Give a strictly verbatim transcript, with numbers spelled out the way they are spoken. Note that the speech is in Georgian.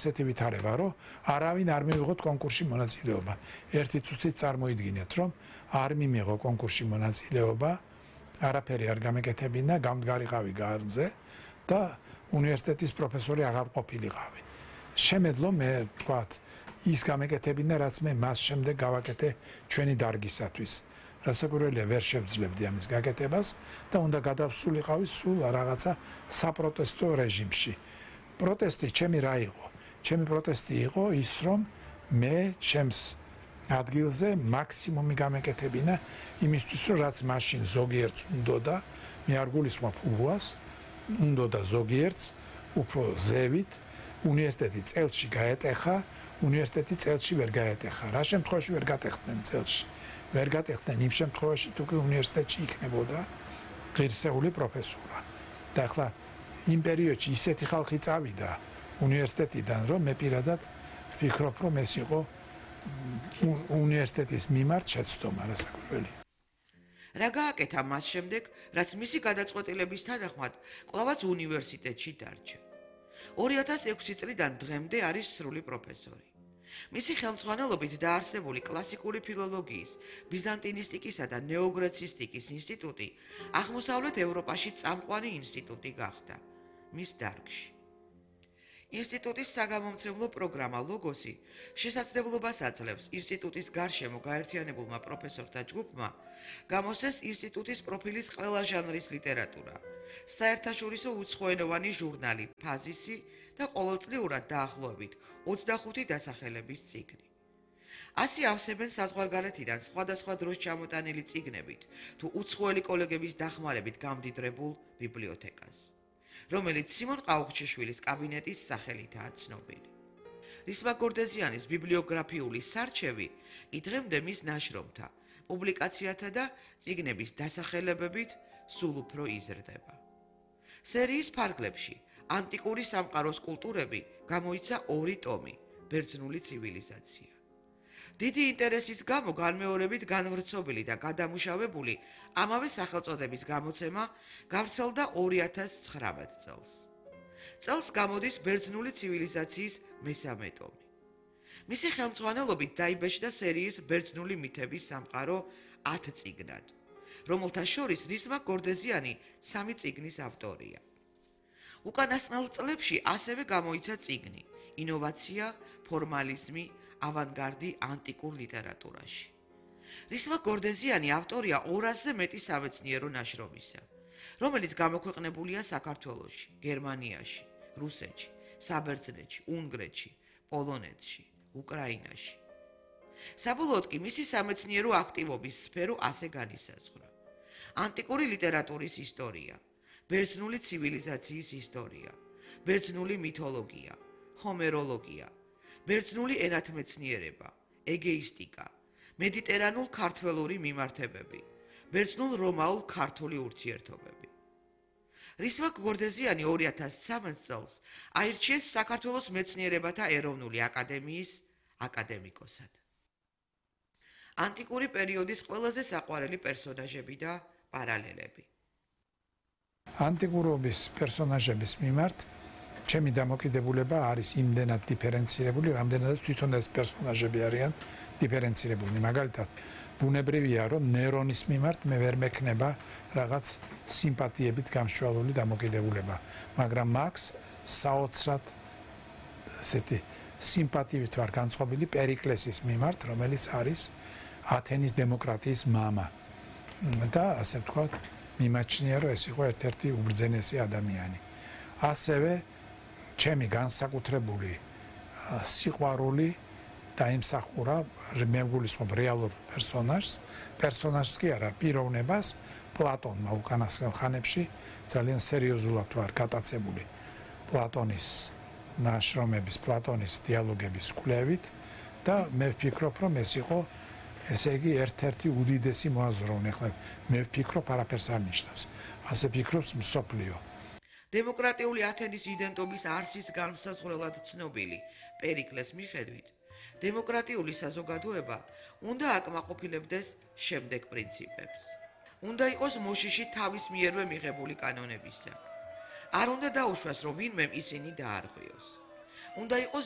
ასეთი ვითარება, რომ არავინ არ მივიღოთ კონკურსში მონაწილეობა. ერთი წუთით წარმოიდგინეთ, რომ არ მიმიღო კონკურსში მონაწილეობა, არაფერი არ გამეკეთებინა, გამდგარიყავი გარდზე და უნივერსიტეტის პროფესორი აღარ ყოფილიყავი. შემეძლო მე ვთქვათ, ის გამეკეთებინა, რაც მე მას შემდეგ გავაკეთე ჩვენი დარგისათვის. რასაკვირველია, ვერ შევძლებდი ამის გაკეთებას და უნდა გადავსულიყავი სულ რაღაცა საპროტესტო რეჟიმში. პროტესტი ჩემი რა იყო? ჩემი პროტესტი იყო ის, რომ მე ჩემს ადგილზე მაქსიმუმი გამეკეთებინა იმისთვის, რომ რაც მაშინ ზოგიერთს უნდოდა, მე არ გულისხმობ უბუას, უნდოდა ზოგიერთს უფრო ზევით, უნივერსიტეტი წელში გაეტეხა, უნივერსიტეტი წელში ვერ გაეტეხა. რა შემთხვევაში ვერ გატეხდნენ წელში? ვერ გატეხდნენ იმ შემთხვევაში, თუ კი უნივერსიტეტში იქნებოდა ღირსეული პროფესურა. და ახლა იმ პერიოდში ისეთი ხალხი წავიდა უნივერსიტეტიდან, რომ მე პირადად ვფიქრობ, რომ ეს იყო უნივერსიტეტის მიმართ შეცდომა რასაკვირველი. რა გააკეთა მას შემდეგ, რაც მისი გადაწყვეტილების თანახმად კვლავაც უნივერსიტეტში დარჩა. ორი ათას ექვსი წლიდან დღემდე არის სრული პროფესორი. მისი ხელმძღვანელობით დაარსებული კლასიკური ფილოლოგიის, ბიზანტინისტიკისა და ნეოგრეცისტიკის ინსტიტუტი აღმოსავლეთ ევროპაში წამყვანი ინსტიტუტი გახდა მის დარგში. ინსტიტუტის საგამომცემლო პროგრამა ლოგოსი შესაძლებლობას აძლევს ინსტიტუტის გარშემო გაერთიანებულმა პროფესორთა ჯგუფმა გამოსცეს ინსტიტუტის პროფილის ყველა ჟანრის ლიტერატურა, საერთაშორისო უცხოენოვანი ჟურნალი ფაზისი და ყოველწლიურად დაახლოებით ოცდახუთი დასახელების წიგნი. ასი ავსებენ საზღვარგარეთიდან სხვადასხვა დროს ჩამოტანილი წიგნებით თუ უცხოელი კოლეგების დახმარებით გამდიდრებულ ბიბლიოთეკას, რომელიც სიმონ ყაუხჩიშვილის კაბინეტის სახელითაა ცნობილი. რისმა გორდეზიანის ბიბლიოგრაფიული სარჩევი კი დღემდე მის ნაშრომთა, პუბლიკაციათა და წიგნების დასახელებებით სულ უფრო იზრდება. სერიის ფარგლებში ანტიკური სამყაროს კულტურები გამოიცა ორი ტომი, ბერძნული ცივილიზაცია. დიდი ინტერესის გამო განმეორებით განვრცობილი და გადამუშავებული ამავე სახელწოდების გამოცემა გავრცელდა ორი ათას ცხრამეტ წელს. წელს გამოდის ბერძნული ცივილიზაციის მესამე ტომი. მისი ხელმძღვანელობით დაიბეჭდა სერიის ბერძნული მითების სამყარო ათ წიგნად, რომელთა შორის რისმა გორდეზიანი სამი წიგნის ავტორია. უკანასკნელ წლებში ასევე გამოიცა წიგნი ინოვაცია, ფორმალიზმი, ავანგარდი ანტიკურ ლიტერატურაში. რისმა გორდეზიანი ავტორია ორასზე მეტი სამეცნიერო ნაშრომისა, რომელიც გამოქვეყნებულია საქართველოში, გერმანიაში, რუსეთში, საბერძნეთში, უნგრეთში, პოლონეთში, უკრაინაში. საბოლოოდ კი მისი სამეცნიერო აქტივობის სფერო ასე განისაზღვრა: ანტიკური ლიტერატურის ისტორია, ბერძნული ცივილიზაციის ისტორია, ბერძნული მითოლოგია, ჰომეროლოგია, ბერძნული ენათმეცნიერება, ეგეისტიკა, მედიტერანულ-ქართველური მიმართებები, ბერძნულ-რომაულ-ქართული ურთიერთობები. რისმა გორდეზიანი ორი ათას ცხრამეტ წელს აირჩიეს საქართველოს მეცნიერებათა ეროვნული აკადემიის აკადემიკოსად. ანტიკური პერიოდის ყველაზე საყვარელი პერსონაჟები და პარალელები. ანტიკურობის პერსონაჟების მიმართ ჩემი დამოკიდებულება არის იმდენად დიფერენცირებული, რამდენადაც თვითონ ეს პერსონაჟები არიან დიფერენცირებული. მაგალითად, ბუნებრივია, რომ ნერონის მიმართ მე ვერ მექნება რაღაც სიმპათიებით გამშვალული დამოკიდებულება, მაგრამ მაქს საოცრად ესეთი სიმპათიით ვარ განწყობილი პერიკლესის მიმართ, რომელიც არის ათენის დემოკრატიის მამა. და ასე ვთქვათ, მიმაჩნია, რომ ეს იყო ერთ-ერთი უბრძენესი ადამიანი. ასევე ჩემი განსაკუთრებული სიყვარული დაიმსახურა მე გულისხმობ რეალურ პერსონაჟს, პერსონაჟს კი არა, პიროვნებას, პლატონმა უკანასკნელ ხანებში ძალიან სერიოზულად ვარ გატაცებული პლატონის ნაშრომების, პლატონის დიალოგების კვლევით და მე ვფიქრობ, რომ ეს იყო ესე იგი ერთ-ერთი უდიდესი მოაზროვნე. ახლა მე ვფიქრობ, არაფერს არ ნიშნავს. ასე ფიქრობს მსოფლიო. დემოკრატიული ათენის იდენტობის არსის განმსაზღვრელად ცნობილი პერიკლეს მიხედვით, დემოკრატიული საზოგადოება უნდა აკმაყოფილებდეს შემდეგ პრინციპებს. უნდა იყოს მოშიში თავის მიერვე მიღებული კანონებისა. არ უნდა დაუშვას, რომ ვინმემ ისინი დაარღვიოს. უნდა იყოს